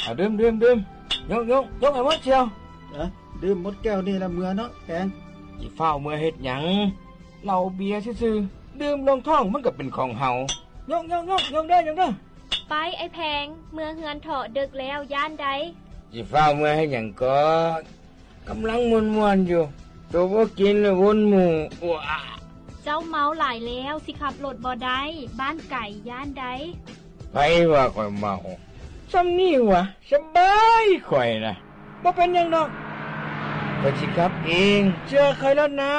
ເອົາດື່ມ ດື່ມ ດື່ມ. ຍົກ ຍົກ ຍົກໃຫ້ໝົດສ່ຽວ. ເອີ ດື່ມໝົດແກ້ວນີ້ລະເມືອເນາະແປງ. ຊິຟ້າວເມືອເຮັດຫຍັງ? ເຫຼົ້າເບຍຊື່ໆ ດື່ມລົງທ້ອງມັນກໍເປັນຂອງເຮົາ. ຍົກ ຍົກ ຍົກ ຍົກເດີ ຍົກເດີ. ໄປ ໄອ້ແພງ ເມືອເຮືອນເຖາະ ເດິກແລ້ວ ຢ້ານໃດ. ຊິຟ້າວເມືອເຮັດຫຍັງກໍ ກຳລັງມ່ວນໆຢູ່. ໂຕບໍ່ກິນລະວົນໝູ່. ເຈົ້າເມົາຫຼາຍແລ້ວ ຊິຂັບລົດບໍ່ໄດ້ ບ້ານໄກ ຢ້ານໃດ. ໃຜວ່າຂ້ອຍເມົາ? ຊ່ຳນີ້ຫວາ? ສະບາຍຂ້ອຍນະ ບໍ່ເປັນຫຍັງດອກ. ຂ້ອຍຊິຂັບເອງ ເຊື່ອຂ້ອຍໂລດນາ.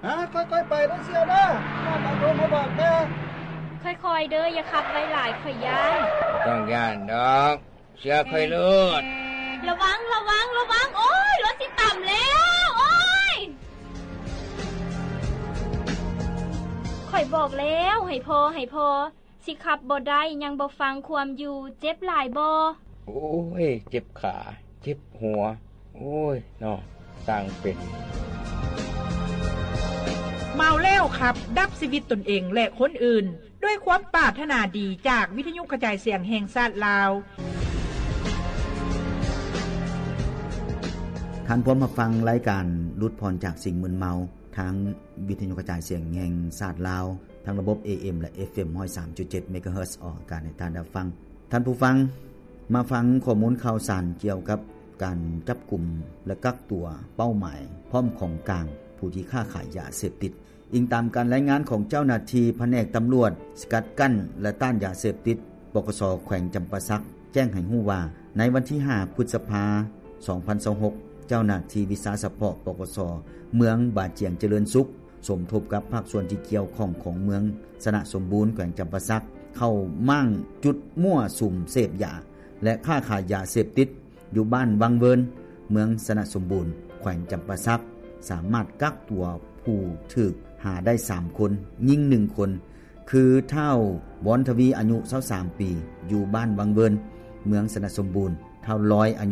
ຮະ ຄ່ອຍໆໄປເດີສ່ຽວເດີ ຂ້ອຍມາໂທມາບອກແດ່. ຄ່ອຍໆເດີ ຢ່າຂັບໄວຫຼາຍ ຂ້ອຍຢ້ານ. ບໍ່ຕ້ອງຢ້ານດອກ ເຊື່ອຂ້ອຍໂລດ. ລະວັງ ລະວັງ ລະວັງ. ໂອ້ຍ ລົດຊິຕຳແລ້ວ ໂອ້ຍ. ຂ້ອຍບອກແລ້ວ ໃຫ້ພໍ ໃຫ້ພໍ. ຊິຂັບບໍ່ໄດ້ ຍັງບໍ່ຟັງຄວາມຢູ່. ເຈັບຫຼາຍບໍ່? ໂອ້ຍ ເຈັບຂາ ເຈັບຫົວ. ໂອ້ຍເນາະ ຊ່າງເປັນ. ເມົາແລ້ວຂັບ ດັບຊີວິດຕົນເອງ ແລະ ຄົນອື່ນ ດ້ວຍຄວາມປາດຖະໜາດີ ຈາກວິທະຍຸກະຈາຍສຽງແຫ່ງຊາດລາວ. ທ່ານພວມຮັບຟັງລາຍການຫຼຸດຜ່ອນຈາກສິ່ງມຶນເມົາ ທາງວິທະຍຸກະຈາຍສຽງແຫ່ງຊາດລາວ ທັງລະບົບ ເອເອັມ ແລະ ເອັຟເອັມ ຮ້ອຍສາມຈຸດເຈັດ ເມກາເຮີດ ອອກອາກາດໃຫ້ທ່ານໄດ້ຟັງ. ທ່ານຜູ້ຟັງ ມາຟັງຂໍ້ມູນຂ່າວສານກ່ຽວກັບການຈັບກຸມ ແລະ ກັກຕົວເປົ້າໝາຍ ພ້ອມຂອງກາງ ຜູ້ທີ່ຄ້າຂາຍຢາເສບຕິດ. ອີງຕາມການລາຍງານຂອງເຈົ້າໜ້າທີ່ພະແນກຕຳຫຼວດສະກັດກັ້ນ ແລະ ຕ້ານຢາເສບຕິດ ປກສ ແຂວງຈຳປາສັກ ແຈ້ງໃຫ້ຮູ້ວ່າ ໃນວັນທີຫ້າ ພຶດສະພາ ສອງພັນຊາວຫົກ ເຈົ້າໜ້າທີ່ວິຊາສະເພາະ ປກສ ເມືອງບາຈຽງຈະເລີນສຸກ ສົມທົບກັບພາກສ່ວນທີ່ກ່ຽວຂ້ອງຂອງເມືອງຊະນະສົມບູນ ແຂວງຈຳປາສັກ ເຂົ້າມ້າງຈຸດມົ້ວສຸມເສບຢາ ແລະ ຄ້າຂາຍຢາເສບຕິດ ຢູ່ບ້ານວັງເວີນ ເມືອງຊະນະສົມບູນ ແຂວງຈຳປາສັກ ສາມາດກັກຕົວຜູ້ຖືກຫາໄດ້ສາມຄົນ, ຍິງໜຶ່ງຄົນ ຄື ທ້າວ ບອນທະວີ ອາຍຸຊາວສາມປີ ຢູ່ບ້ານວັງເວີນ ເມືອງຊະນະສົມບູນ, ທ້າວ ລອຍ ອາຍຸ